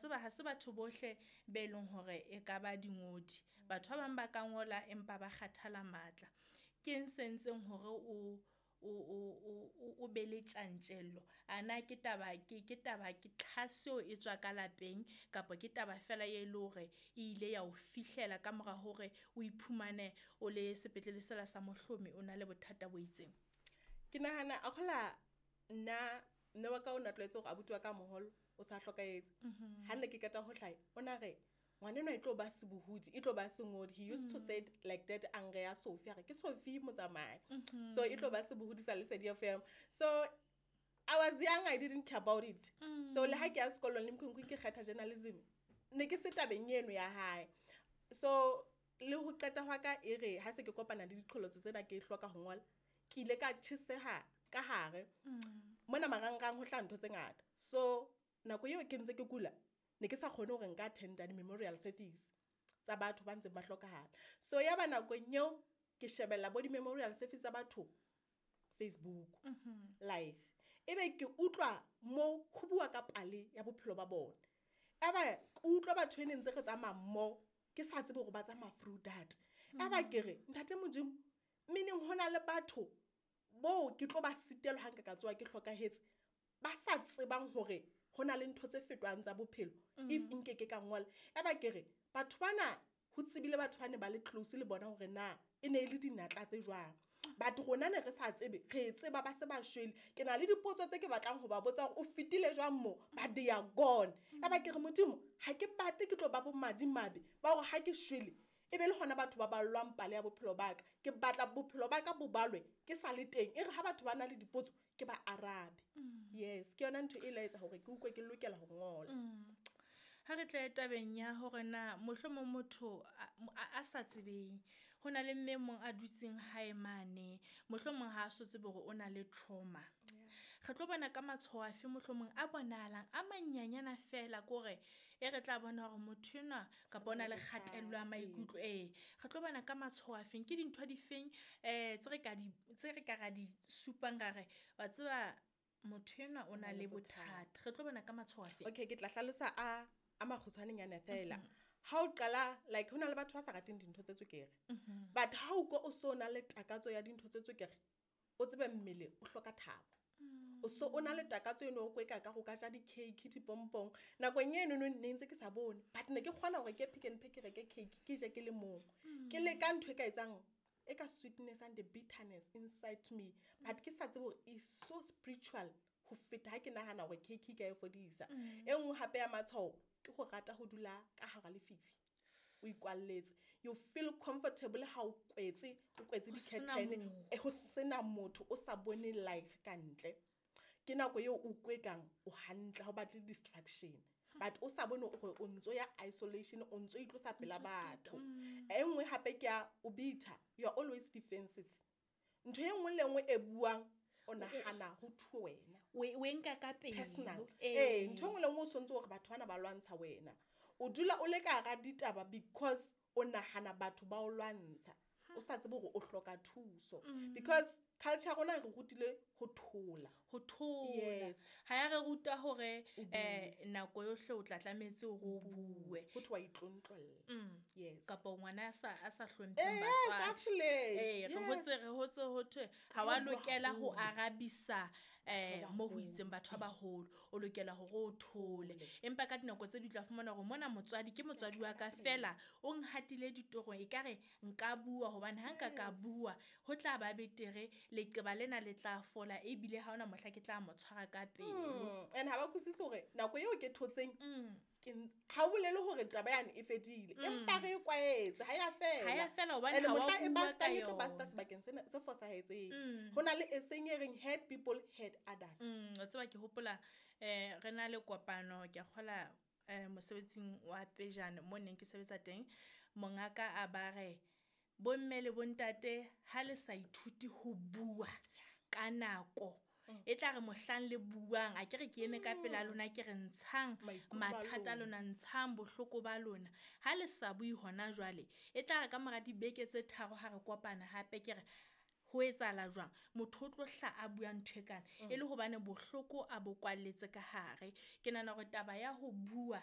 Tseba ha se batho bohle be leng hore e ka ba dingodi. Batho ba bang ba ka ngola empa ba kgathala matla. Ke eng se entseng hore o be le tjantjello? A na ke taba ke tlhaseho e tswa ka lapeng kapa ke taba fela e le hore e ile ya o fihlela ka mora hore o iphumane o le sepetlele sela sa Mohlomi o na le bothata bo itseng? Ke nahana a kgola nna mme wa ka o na tlwaetse hore abuti wa ka moholo o sa hlokahetse. Ha nne ke qeta ho hlaha, o na re ngwanenwa e tlo ba sebohodi, e tlo ba sengodi. He used to say it like that, a nreha Sophie, a re ke Sophie Motsamai. So e tlo ba sebohodi sa Lesedi FM. So I was young, I didn't care about it. So le ha ke ya sekolong le Mkhunkhung ke kgetha journalism, ne ke se tabeng eno ya hae. So le ho qeta hwa ka e re ha se ke kopana le diqholotso tsena ke hloka ho ngola, ke ile ka tjheseha ka hare. Mona marangrang ho hlaha ntho tse ngata. So nako eo ke ntse ke kula, ne ke sa kgone hore nka attenda di-memorial service tsa batho ba ntseng ba hlokahala. So ya ba nakong eo ke shebella bo di-memorial service tsa batho Facebook live. Ebe ke utlwa mo ho bua ka pale ya bophelo ba bona. Eba ke utlwa batho e ne ntse re tsamaya mmoho, ke sa tsebe hore ba tsamaya through that. Eba ke re ntate Modimo, meaning hona le batho bo ke tlo ba sitelwa ha nka ka tsoha ke hlokahetse, ba sa tsebang hore hona le ntho tse fetohang tsa bophelo if nke ke ka ngola. Eba ke re batho bana ho tsebile batho ba ne ba le close le bona hore na e ne e le dinatla tse jwang. But rona ne re sa tsebe, re tseba ba se ba shwele. Ke na le dipotso tse ke batlang ho ba botsa hore o fetile jwang mo, but they are gone. Eba ke re Modimo, ha ke batle ke tlo ba bo madimabe ba hore ha ke shwele e be le hona batho ba ballwang pale ya bophelo ba ka. Ke batla bophelo ba ka bo balwe ke sa le teng. E re ha batho ba na le dipotso ke ba arabe. Yes, ke yona ntho e la etsa hore ke utlwe ke lokela ho ngola. Ha re tle tabeng ya hore na mohlomong motho a sa tsebeng, ho na le mme mong a dutseng hae mane, mohlomong ha a so tsebe hore o na le trauma. Re tlo bona ka matshwao afe mohlomong a bonahalang a manyanyana fela kore e re tla bona hore motho enwa kapa o na le kgatello ya maikutlo. Re tlo bona ka matshwao afeng, ke dintho difeng tse re ka ra di supang ra re wa tseba motho enwa o na le bothata. Re tlo bona ka matshwao afe? Okay, ke tla hlalosa a makgutshwanenyana fela. Ha o qala, like hona le batho ba sa rateng dintho tse tswekere. But ha o ko o so na le takatso ya dintho tse tswekere, o tsebe mmele o hloka thabo. O so o na le takatso eno o kweka ka go ka ja di-cake, dipompong. Nakong eno no ne ntse ke sa bone, but ne ke kgona hore ke Pick n Pay ke reke cake, ke je ke le mong. Ke leka ntho e ka etsang e ka sweetness and the bitterness inside me, but ke sa tsebe hore is so spiritual ho feta ha ke nahana hore cake e ka e fodisa. E nngwe hape ya matshwao ke ho rata ho dula ka hara lefifi, o ikwalletse. You feel comfortable ha o kwetse, o kwetse Ho sena di-curtain, motho. ho sena motho, o sa bone life ka ntle. Ke nako eo o kwekang o hantle, ha o batle distraction, but o sa bone hore o ntso ya isolation, o ntso itlosa pela batho. E nngwe hape ke ya o bitter, you are always defensive. Ntho e nngwe le nngwe e buang o nahana ho thuwe wena. O e nka ka pelo. Personal. Ntho e nngwe le nngwe o sontse hore batho bana ba lwantsha wena. O dula o le ka hara ditaba because o nahana batho ba o lwantsha. O sa tsebe hore o hloka thuso. Because culture ya rona e re rutile ho thola. Ho thola. Yes. Ha ya re ruta hore, O bue. nako yohle o tla tlametse hore o bue. Ho thwe wa itlontlolla. Yes. Kapa ngwana a sa hlompheng Yes, batswadi. actually. Re Yes. hotse ho thwe ha wa Ba bua lokela ho haholo. arabisa, Batho ba mo ho baholo. itseng batho ba baholo. O lokela hore o thole. Empa ka dinako tse ding o tla fumana hore mona motswadi ke motswadi wa ka fela, o nhatile ditorong, ekare nka bua hobane ha nka ka Yes. bua ho tla ba betere, leqeba lena le tla fola ebile ha hona mohla ke tla mo tshwara ka pelo. And ha ba utlwisise hore nako eo ke thotseng, ke ha o bolele hore taba yane e fedile, empa re e kwaetse, ha ya fela. Ha ya fela hobane And ha wa mohla e bua bastang, ka e tlo basta yona. sebakeng sena se fosahetseng. Ho na le e seng e reng hurt people hurt others. O tseba ke hopola, re na le kopano, ke a kgola, mosebetsing wa pejana mo neng ke sebetsa teng, mongaka a ba re bomme le bontate ha le sa ithuti ho bua ka nako, e tla re mohlang le buang, a ke re ke eme ka pela lona, ke re ntshang Maikutlo a mathata a lona. lona, ntshang bohloko ba lona. Ha le sa bue hona jwale, e tla re ka mora dibeke tse tharo ha re kopana hape, ke re ho etsahala jwang, motho o tlo hla a bua ntho e kana, e le hobane bohloko a bo kwalletse ka hare. Ke nahana hore taba ya ho bua